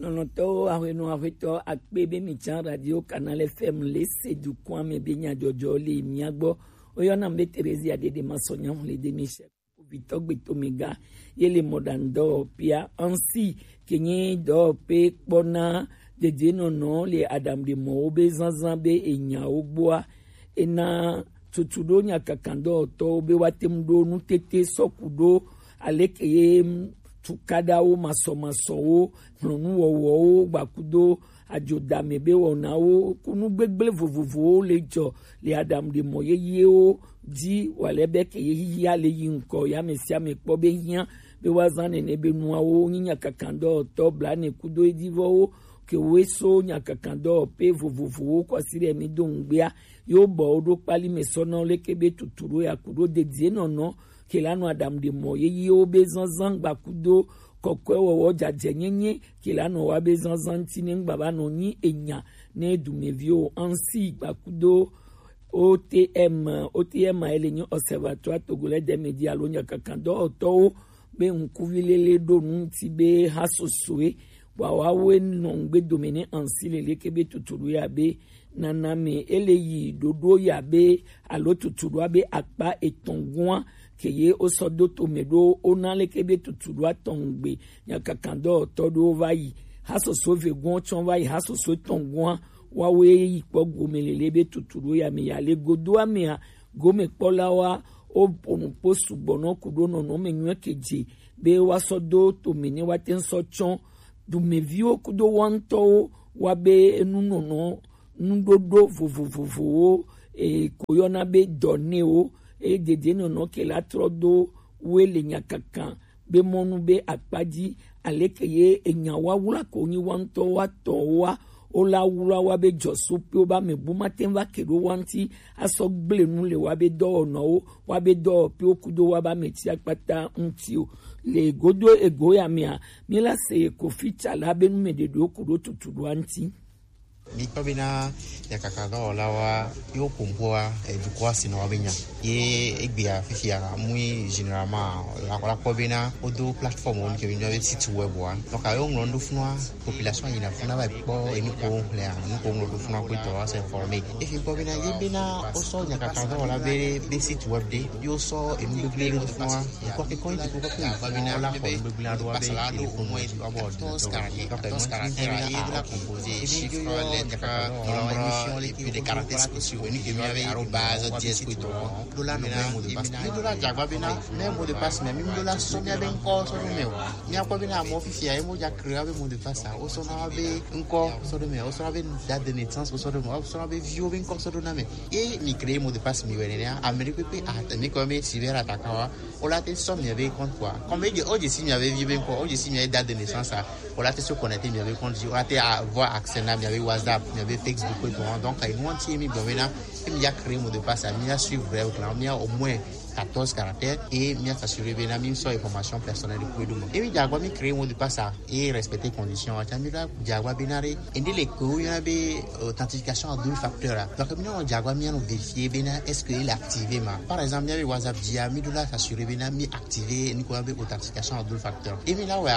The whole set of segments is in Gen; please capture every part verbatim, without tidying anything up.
Lɔlɔ̃tɔwo, ahwenɔ ahwetɔ akpe be mi can Radio Canal F M le se dukɔa me be nyadzɔdzɔ le mia gbɔ. Woyɔna mi be Theresia Dede Masɔnya Hlede Michel. Kpovitɔ gbetome ga ye le mɔɖaŋudɔwɔƒea. Ansi ke nye dɔwɔƒe kpɔna dedienɔnɔ le aɖaŋuɖemɔwo be zazã be enyawo gbɔa, ena tutu ɖo nyakakadɔwɔtɔwo be woate ŋu ɖo nutete sɔku ɖo aleke ye tukaɖawo masɔmasɔwo, hlɔnuwɔwɔwo, gbakudo adzodame be wɔnawo, kunu gbegblẽ vovovowo le dzɔ le aɖaŋuɖemɔ yeyewo dzi, wale be ke ye xexea le yi ŋkɔ ya ame sia ame kpɔ be hiã be woazã nene be nuawo nyi nyakakadɔwɔtɔ blaene kudo edivɔwo ke woe so nyakakadɔwɔƒe vovovowo kɔ asi ɖe mi do ŋugbea, yewo bɔ wo ɖo kpali me sɔ na wo leke be tutu ɖo ya ku ɖo dedienɔnɔ ke la nɔ aɖaŋuɖemɔ yeyewo be zazã gbakudo kɔkɔewɔwɔ dzadzɛnyenye ke la nɔ wa be zazã ŋuti ne ŋgba va nɔ nyi enya ne dumeviwo ansi gbakudo O T M, O T M a ele nyi Observatoire Togolais des Médias alo nyakakadɔwɔtɔwo be ŋkuvi lele ɖo nu ŋuti be ha sosoe, bua woawoe nɔ ŋgbe dome ne ansi lele ke be tutu ɖo ya be nana me ele yi ɖoɖo ya be alo tutu ɖoa be akpa etɔ̃ gɔ̃a ke ye wosɔ do tome ɖo wona leke be tutu ɖoa tɔn gbe nyakakadɔwɔtɔ ɖewo va yi. Hasoso ve gɔ̃ tsɔ va yi hasoso etɔ̃ gɔ̃a, woawoe yi kpɔ gome lele be tutu ɖo ya me ya le godoa mea, gomekpɔlawoa woƒo nu kpo sugbɔ nɔ ku ɖo nɔnɔme nyuie ke dze be woasɔ do tome ne woate ŋu sɔ tsɔ dumeviwo kudo wa ŋutɔwo wa be enunɔnɔ nuɖoɖo vovovowo e ko yɔna be dɔnewo e dedienɔnɔ ke la trɔ do woe le nyakaka be mɔnu be akpa dzi aleke ye enya wawla ko nyi wa ŋutɔ wa tɔ wa wo la wla wa be dzɔsu pe wo ba me bu ma te va ke ɖo wa ŋuti asɔ gble nu le wa be dɔwɔnɔwo wa be dɔwɔƒewo kudo wa ba me ti akpata ŋuti o. Le godo ego ya mea, mi la se Kofi Tsala be nu me ɖeɖewo ku ɖo tutu ɖoa ŋuti. Mikpɔ bena nyakaka dɔwɔlawoa yewo kpɔnkpɔa edukɔa sinɔa be nya. Ye egbea fifia mui généralement la la kpɔ bena wodo plateforme wo ke mi be site web wa. Donc ayo ŋlɔ ndo funua population yina funa va kpɔ enu ko ŋlɔ enu ko ŋlɔ do funua ko tɔ wa se informer. Efi kpɔ bena ye bena wosɔ nyakaka dɔwɔla be be site web de yo sɔ enu gbegble do funua. Kɔkɛ kɔn ti kɔkɛ fún wọn la kɔ gbegblẽ aɖo abe téléphone dzi ɔbɔ ordinateur. Donc ɛmɔ ti mi bɛ na a ok. Ebi ke yɔ nyaka nombre et puis des caractères spéciaux. Enu ke mi abe arobase diez ko tɔ. Do la nombre mot de passe. Mi do la jagba bena mɛ mot de passe mɛ mi do la sɔ mi abe ŋkɔ sɔ do mɛ o. Mi akpɔ bena mɔ fifia emo ja créer abe mot de passe a. O sɔ na abe ŋkɔ sɔ do mɛ. O sɔ na abe date de naissance o sɔ do mɛ. O sɔ na abe viwo be ŋkɔ sɔ do na mɛ. Ye mi créer mot de passe mi wɛ nene a. Ame ɖe kpekpe a mi kɔ mi cyber attaquant wa. O la te sɔ miabe compte quoi. Comme o je si miabe vie be ŋkɔ, o je si miabe date de naissance a. O la te se connecter miabe compte dzi. O la te avoir accès na miabe WhatsApp, miabe Facebook et tout. Donc, il nous tient mi bon maintenant. Et mi a créé mot de passe, mi a suivre vrai au clan, mi a au moins quatorze caractères et mi a s'assurer bena mi sɔ information personnelle de kuedo mo. Et mi a quoi mi créé mot de passe a. Et respecter condition a. Tiens, mi doit diagwa benare. Ende le ko yɔna be authentification à double facteur la. Donc mi na diagwa mi na vérifier bena est-ce que il est activé ma. Par exemple, mi a WhatsApp dia mi doit s'assurer bena mi activé ni ko be authentification à double facteur. Et mi là ouais,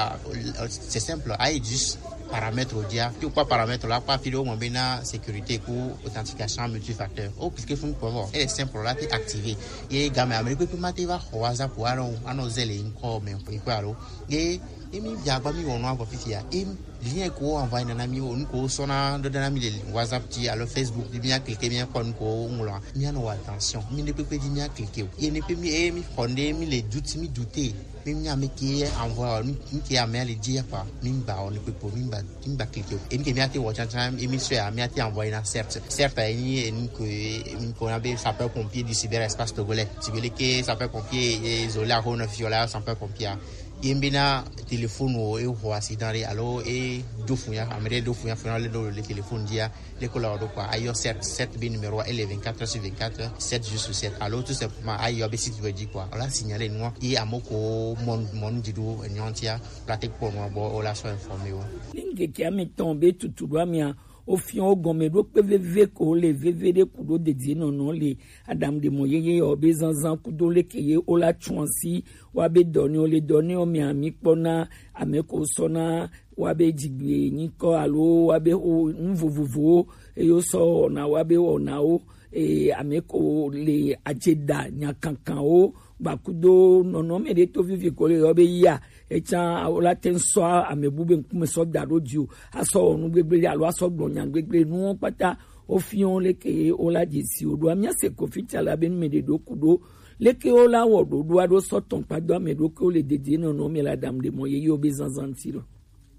c'est simple, aïe juste paramètre dia. Puis quoi paramètre là, quoi puis au moins bena sécurité ko authentification multifacteur. O cliquer fun pour voir. Elle est simple là, t'es activé. Et gamme Amérique peut mater va WhatsApp ou alors, ah non, zèle encore mais quoi alors. Ye emi dze agba mi wɔ nua vɔ fifia. Em lien ko envoyer nana mi o nu ko sɔna ɖo ɖana mi le WhatsApp dzi alo Facebook dzi mi a cliquer mi a kpɔ nu ko ŋlɔa mi a nɔ wɔ attention mi ne kpekpe dzi mi a cliquer o. Ye ne kpe mi e mi xɔ ne mi le doute mi doute mi mi ame ke envoyer o nu ke ame a le dzi ya kpa mi ba o ne kpekpe mi ba mi ba cliquer o. Emi ke mi a te wɔ tsantsan emi sɔe a mi a te envoyer na certes certes a enyi enu ko emi ko na be sapeur pompier du cyberespace togolais. Tibele ke sapeur pompier e zola ho na fiola sapeur pompier. Ye mi be na téléphone wo e xɔ accident ɖe alo e do fun ya ame ɖe do fun ya fun ya le ɖo le téléphone dzia le ko la wo ɖo kpa ayɔ sept sept be numéro ele vingt-quatre sur vingt-quatre sept jours sur sept alo tout simplement ayɔ be site web dzi kpa wala signaler nua ye amo ko mɔnu mɔnu dzi ɖo enyɔ ŋutia wala te kpɔ nua gbɔ wala sɔ informer wo. Linge ke ame tɔn be tutu ɖo amia Ofiɔ ogɔnmɛ ɖo kpe veve ko le veve ɖe ku ɖo dedie nɔnɔ le. Adam ɖe mɔ yeye ɔ be zanzan kudo leke ye o la tsuansi wa be dɔ ni o le dɔ ni ɔ mɛ ami kpɔ na ame ko sɔ na wa be dzigbe nyikɔ alo wa be o nu vovovowo eye o sɔ wɔna wa be wɔnawo eye ame ko le adze da nyakankanwo gbakudo nɔnɔme ɖe to vivi ko le yɔ be yia etsã o la te ŋu sɔ ame bu be ŋkume sɔ da ɖo dzi o asɔ wɔ nu gbegblẽ alo asɔ gblɔ nya gbegblẽ nuwo kpata. Ofiɔ leke o la dze si o ɖo amia se ko fitsa la be nu me ɖe ɖo ku ɖo leke o la wɔ ɖoɖo aɖo sɔ tɔn kpa do ame ɖo ke o le dede nɔnɔ me la dam ɖe mɔ yeye o be zanzan ti lɔ.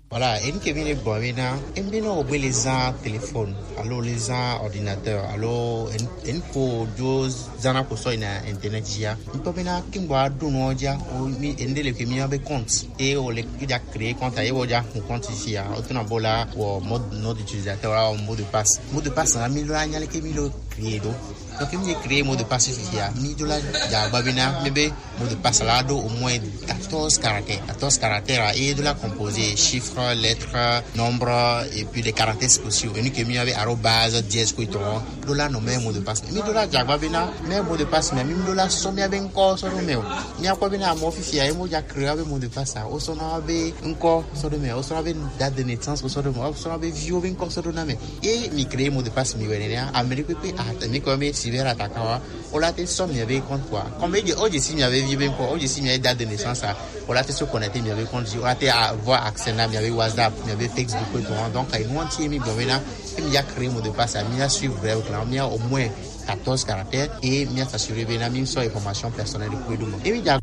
Voilà, enu ke mi le gbɔ be na, enu be na o gbe le zan téléphone, alo le zan ordinateur, alo enu, enu ko jo zana ko sɔ ina internet ya. Ŋutɔ be na ke ŋgba ɖo nɔ ja, o mi enu ɖe le ke mi be compte, e o le ke ja créer compte, e o ja hun compte si ya, o tuna bo la, wɔ mode, nom d'utilisateur, wɔ mot de passe. Mot de passe, la mi lo anya le ke mi lo créer do. Donc, mi créer mot de passe fifia, mi do la dza gba be na mi be mot de passe la do au moins quatorze caractères. Quatorze caractères, et de la composé chiffres, lettres, nombres, et puis des caractères spéciaux. Et nous que mi avait arobase dièse ko to. Do la no me mot de passe. Mi do la dza gba be na me mot de passe, mais mi do la so mi abe encore so do me. Mi akɔ be na mo fifia e mo dza créer be mot de passe. O so na be encore so do me. O so na be date de naissance, o so do me. O so na be viwo be encore so do na me. Ye mi créer mot de passe mi wɛ nɛnɛ, ame ɖe kpekpe a mi kɔ mi cyber attaquant wa, o la te sɔ mi be compte quoi. Comme o dze si mi be vie be ŋkɔ, o dze si mi date de naissance a, o la te so connecter mi be compte, o la te avoir accès na mi be WhatsApp, mi be Facebook et tout. Donc, enu ŋuti mi gblɔ be na, e mi ya créer mot de passe, mi ya suivre règle là, mi ya au moins quatorze caractères et mi ya s'assurer be na mi sɔ information personnelle de kwe do mo. E mi dza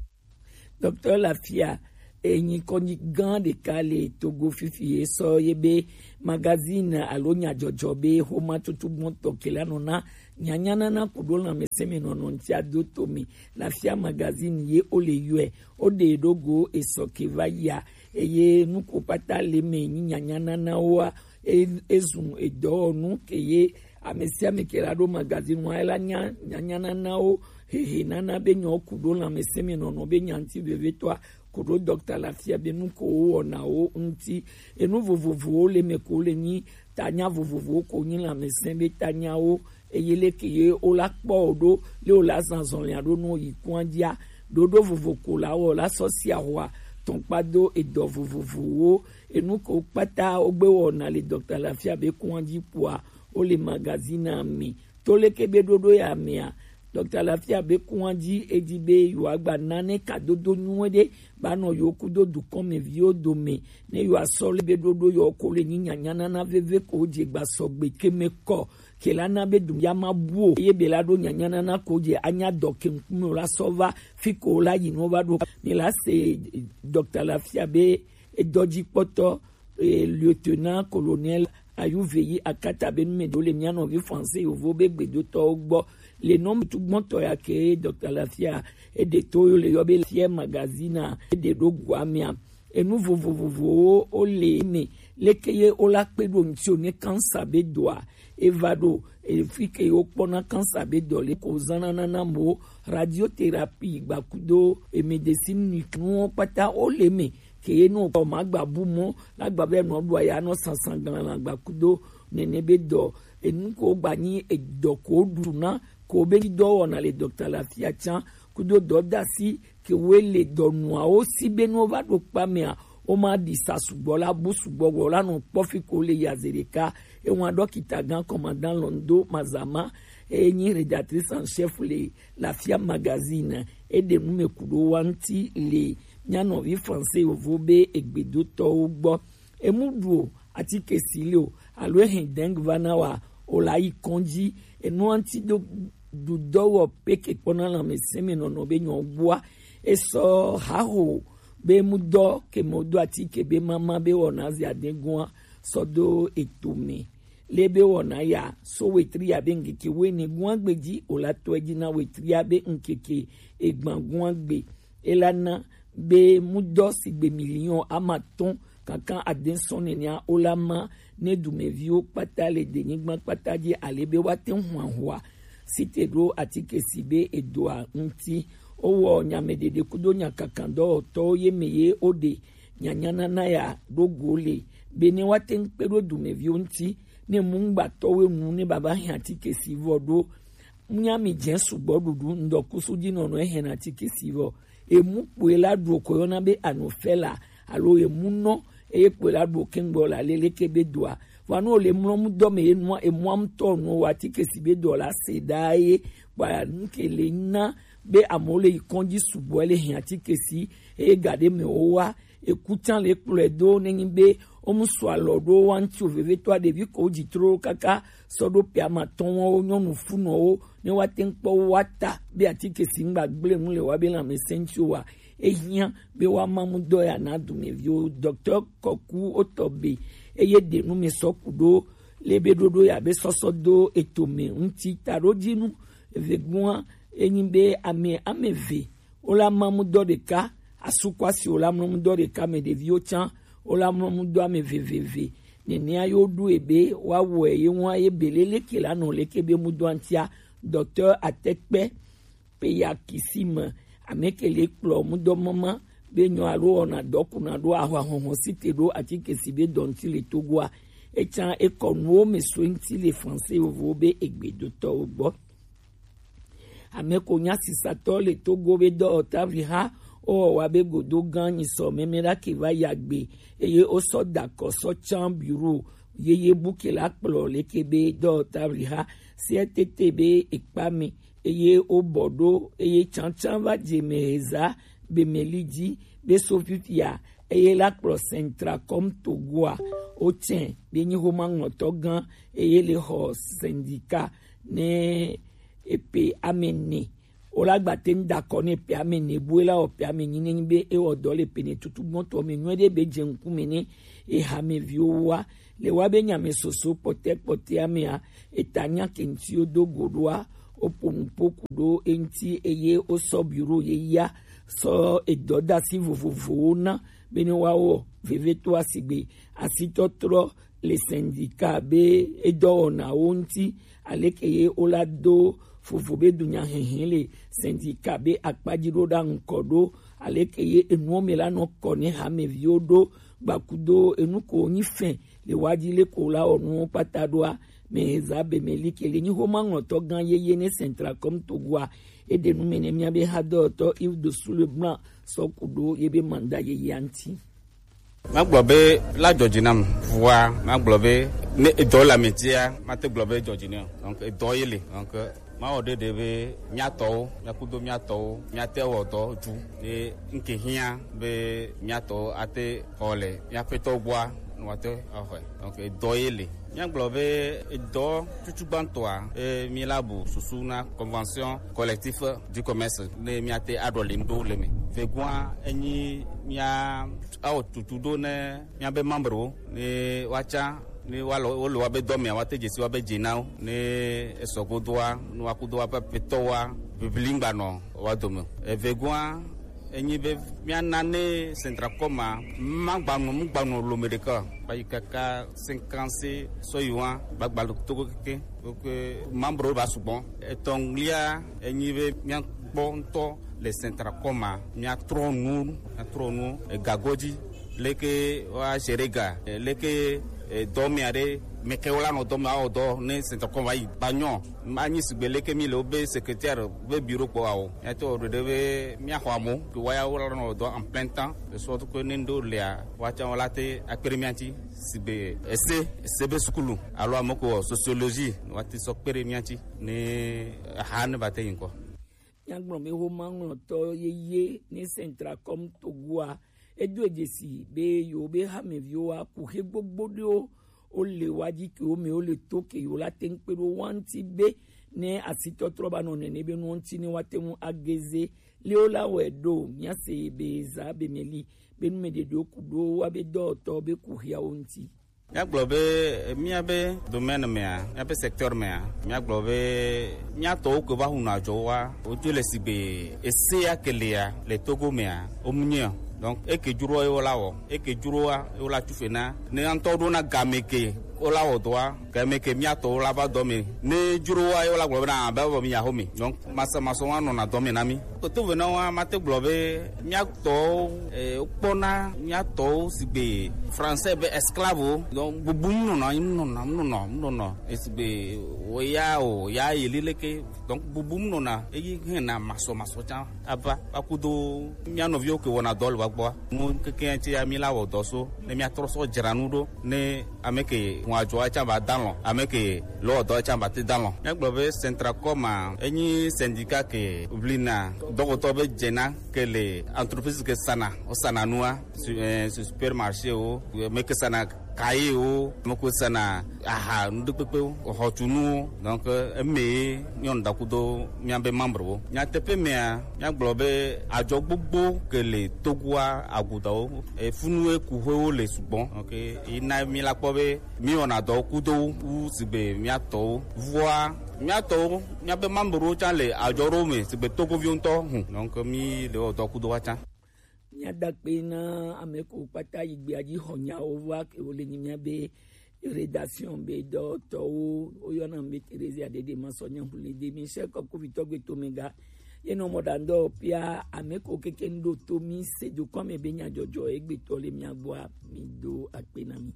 Docteur Lafia, enyi kɔnyi gã ɖeka le Togo fifi ye sɔ ye be magazine alo nyadzɔdzɔ be xomatutu gbɔntɔ ke la nɔ na nyanyanana kuɖo lãmesẽmenɔnɔ ŋuti ado to me. Lafia magazine ye o le yɔe, o ɖe ɖo go esɔ ke va yia, eye nuko kpata le me nyi nyanyananawoa, e- ezun edɔwɔnu ke ye ame sia ame ke la ɖo magazine wa ela nya nyanyananawo hehe nana be nyɔ kuɖo lãmesẽmenɔnɔ be nyanti vevetɔa kuɖo docteur Lafia be nu ko wo wɔnawo ŋuti. Enu vovovowo le me ko le nyi tanya vovovowo ko nyi lãmesẽ be tanyawo eye leke ye wo la kpɔ wo ɖo le wo la zan zɔlia ɖo nu yi kua dzia ɖoɖo vovo ko la wɔ la sɔ sia hoa tɔnkpa do edɔ vovovowo enu ko kpata wo gbe wɔna le docteur Lafia be kua dzi kpoa wo le magazine a me. To leke be ɖoɖo ya mea, docteur Lafia be kua dzi edi be yewoagba nane kadodo nyuie ɖe ba nɔ yewo kudo dukɔmeviwo dome ne yewoasɔ le be ɖoɖo yewo ko le nyi nyanyanana veve ko dze gba sɔgbe ke me kɔ ke la na be dum ya ma bu o ye be la ɖo nyanyanana ko dze anya dɔ ke ŋkume la sɔ va fi ko la yi no va ɖo. Mi la se docteur Lafia be edɔdzikpɔtɔ eh, lieutenant colonel Ayuveyi Akata be nu me ɖewo le mía nɔvi français yovo be gbedotɔwo gbɔ le nɔmtu gbɔntɔ ya ke docteur Lafia eɖe to yo le yɔ be Lafia magazine eɖe ɖo gua mea enu vovovovowo wo le me leke ye wo la kpe ɖo ŋuti o ne cancer be dɔa eva ɖo efi ke wo kpɔna cancer be dɔ le ko zana nana mo radiothérapie gbakudo e médecine nuke nuwo kpata wo le me ke ye nu kɔ ma gba bu mɔ la gba be nɔ ɖu aya nɔ sansan glan la gba kudo nene be dɔ enu ko gba nyi edɔ ko ɖu na ko be dɔ wɔna le docteur Lafia can kudo dɔ dasi ke wo le dɔ nuawo si be nuwo va ɖo kpa mea wo ma ɖi sa sugbɔ la bu sugbɔ wɔ la nɔ kpɔ fi ko le yaze ɖeka ewa dɔkita gan commandant Londo Mazama eye nyi rédactrice en chef le Lafia magazine eɖe nu me ku ɖo wa ŋuti le mía nɔvi français yovo be egbedotɔwo gbɔ. Emu ɖu o, atike si le o, alo ehe dengue va na wa o la yi kɔndzi. Enua ŋuti do ɖu dɔ wɔ pe ke kpɔna lãmesẽ me nɔnɔ be nyɔ gbɔa. Esɔ haho be mu dɔ ke mo do atike be mama be wɔna zi adegoa sɔ do eto me. Le be wɔna ya so wetri ya be ŋkeke wene guagbe dzi o la tɔe dzi na wetri ya be ŋkeke egban guagbe. Ela na be mudɔ sigbe miliɔn amatɔn kankan ade sɔn nenea o la ma ne dumeviwo kpata le denyigba kpata dzi ale be woate ŋu ahua site ɖo atike si be edoa ŋuti. Wowɔ nyameɖeɖe kudo nyakakan dɔwɔtɔwo ye me ye woɖe nyanyanana ya ɖo go le be ne woate ŋu kpe ɖo dumeviwo ŋuti Ne mu ŋgbatɔwo nu ne baba hɛn atike si vɔ ɖo, munya mi jɛ sugbɔ ɖuɖu ŋdɔ kusu ji nɔnɔ ehɛn atike si vɔ. Emu kpoe la ɖu ko yɔna be anofɛla alo emu nɔ eye kpoe la ɖu kɛŋgbɔ la lele ke be doa. Vɔa no le mlɔ mu dɔ me ye nua emu amutɔ no wa atike si be dɔ la se da ye kpa nu ke le na be amewo le yi kɔdzi sugbɔ le hɛn atike si eye gaɖe me wo wa eku tsã le kplɔe do nenyi be womu sɔ alɔ ɖo wa ŋuti o vevetɔa ɖevi ko dzi tro kaka sɔ ɖo pia ma tɔn wo nyɔnu funɔwo ne wa te ŋkpɔ wa ta be atike si ŋgba gblẽ nu le wa be lãmesẽ ŋuti o wa ehiã be wa ma mu dɔ ya na dumeviwo. Docteur Kɔku wotɔ be eye ɖe nu me sɔ ku ɖo le be ɖoɖo ya be sɔsɔ do eto me ŋuti taɖodzinu vegoa enyi be ame ame eve wo la ma mu dɔ ɖeka, asu kɔ asi wo la mlɔ mu dɔ ɖeka me ɖeviwo tsã wo la mlɔ mu dɔ ame veveve. Nenea yo ɖu ebe wa wɔ ye wa ye belele ke la nɔ leke be mu dɔ antia. Docteur Atekpe pe ya kisi me ame ke le kplɔ mu dɔ mama be nyɔ alo wɔna dɔ kuna ɖo ahwa hɔhɔ si te ɖo atike si be dɔnti le Togoa. Etsã ekɔ nuwo me so ŋuti le français vovo be egbedotɔwo gbɔ. Ame ko nya sisatɔ le Togo be dɔwɔtavli ha wowɔ wa be godo gã nyisɔ mɛmɛ ɖa ke va ya gbe eye wosɔ da akɔ sɔ can biro yeye bu ke la kplɔ leke be dɔwɔtavli ha siɛ tete be ekpa me eye wobɔ ɖo eye tsantsan va dze mɛ heza be mɛ li dzi be so fifia eye la kplɔ Centracom Togoa wotsɛ be nyi homa ŋlɔtɔ gã eye le xɔ syndicat ne epe ame ne. Wo la gba te ŋu da akɔ ne epe ame ne bue la wɔ pe ame nyi ne nyi be ewɔ dɔ le pe ne tutu gbɔtɔ me nyuie ɖe be dze ŋkume ne eha me viwo wa le wa be nya me soso kpɔtɛ kpɔtɛ amea eta nya ke ŋuti wo do go ɖoa wo ƒo nu ƒo ku ɖo eŋuti eye wosɔ biro yeyea sɔ edɔdasi vovovowo na be ne woawɔ vevitɔa sigbe asitɔtrɔ le syndicat be edɔwɔnawo ŋuti aleke ye wola do vovo be dunyahehe le syndicat be akpadzi ɖo ɖa ŋkɔ ɖo aleke ye enuwo me la nɔ kɔ ne hameviwo ɖo gbakudo enu ko nyi fɛn le wa dzi le ko la wɔ nuwo kpata ɖoa me heza be me like le nyi homa ŋlɔtɔ gã yeye ne Centracom Togoa eɖe nu me ne mía be hadɔtɔ Yves de Souleblanc sɔ ku ɖo ye be manda yeyea ŋuti. Magblɔ be la dzɔ dzi nam vɔa magblɔ be ne edɔ le ame dzia mate gblɔ be dzɔ dzi nɛ o. Donc edɔ ye le donc mawɔ ɖeɖe be míatɔwo míakudo míatɔwo míate wɔ dɔ dzu ye nke hiã be míatɔwo ate xɔ le míaƒetɔ gbɔa ne woate axɔe. Donc edɔ ye le míagblɔ be edɔ tutu gbãtɔa e, míela bu susu na convention collectif du commerce ne míate aɖɔ le ŋɖo le me. Vegoa enyi mía awɔ tutu ɖo ne míabe membrewo ne woatsa ne woalɔ wole woabe dɔ mea woate dzesi woabe dze na wo ne esɔ godoa ne woakudo woaƒe aƒetɔwoa bibli ŋgbanɔ woa dome o. Evegoa enyi be míana ne Centracom ma magbanɔ mugbanɔ lome ɖeka o. Kpayi kaka cinquante sɔyiwa gbagba togo keke. Donc membre ba sugbɔ. Etɔ̃lia enyi be míakpɔ ŋutɔ le Centracom ma míatrɔ nu míatrɔ nu egago dzi leke woa gérer ga leke dɔmea ɖe meke wola nɔ dɔmea wɔ dɔ ne Centracom va yi ba nyɔ anyi sigbe leke mi le wobe secrétaire be bureau kpɔ awo míate wɔ ɖeɖe be míaxɔ amewo ke woya wola nɔ dɔ en plein temps de sorte que ne ŋɖewo lia woatsã wola te akpe ɖe mía ŋuti. Sigbe ese ese be sukulu alo ame ko wɔ sociologie ne woate sɔ kpe ɖe mía ŋuti ne aha ne va te yi ŋkɔ. Míagblɔ be homa ŋlɔtɔ yeye ne Centracom Togoa edo edzesi be yewo be hameviwo aku xe gbogbo ɖewo wole wa dzi ke wo me wole to ke yewo la te ŋu kpe ɖo wa ŋuti be ne asitɔtrɔ ba nɔ nene be nuwo ŋuti ne woate ŋu ageze le wo la wɔe ɖo míase be zã be me li be nu me ɖeɖewo ku ɖo wa be dɔwɔtɔ be ku xiawo ŋuti. Míagblɔ be míabe domaine mea míabe secteur mea míagblɔ be míatɔwo ke va hunɔ adzɔ wa wodzo le sigbe esea ke lia le Togo mea womunye o. Donc eke dzroa yewo la wɔ eke dzroa yewo la tufe na ne ŋutɔ ɖo na game ke Wola wɔ dɔa, ke mɛ ke mía tɔwo la va dɔ mɛ. Ne dzro wa, ye wola gblɔ bena, be vɔ mi ya xɔ mi. Donc, masɔ, masɔ wa nɔna dɔ mɛ na mi. Koto ve na wa, mate gblɔ be mía tɔwo, eh, kpɔna mía tɔwo sigbe français be esclave o. Donc, bubu mu nɔna, mu nɔna, mu nɔna, mu nɔna. Esigbe wo ya o, ya yi lileke. Donc, bubu mu nɔna, eyi hɛn na masɔ, masɔ can. Ava, va kudo mía nɔviwo ke wɔna dɔ le wa gbɔa. Mu keke ŋuti ya mi la wɔ dɔ so, ne mía trɔ sɔ dzra nu ɖo, ne ame ke ŋua dzɔa can ba dalɔn, ame ke lɔ dɔ can ba te dalɔn. Mía gblɔ be Centracom a, enyi syndicat ke blina dɔkɔtɔ be dzena ke le entreprise ke sana, o sana nua, su, eh, su supermarché o, me ke sana kaye o, me ko sana aha, nu ɖe kpekpe o, xɔtunu o. Donc, eme ye nyɔnu dakudo mía be membre wo. Nyateƒe mea, mía gblɔ be adzɔ gbogbo ke le Togoa agudawo, e, funu e ku ƒewo le sugbɔ. Donc, yi na mi la kpɔ be mi wɔna dɔ kudo wu sigbe mía tɔwo. Vɔa, mía tɔwo, mía be membre wo can le adzɔ ɖo me sigbe Togoviwo ŋutɔ hu. Donc, mi le wɔ dɔ kudo wa can. Míada akpe na ame kewo kpata yi gbea dzi xɔ nyawo va ke wole nyi mía be rédaction be dɔtɔwo, woyɔna be Theresia Dede Masɔ Nyahule de Michel Kɔkuvitɔ gbe tomega. Ye nɔ mɔ ɖa ŋdɔ pia ame kewo keke ŋɖo to mi se dukɔ me be nyadzɔdzɔ egbetɔ le mía gbɔa, mi do akpe na mi.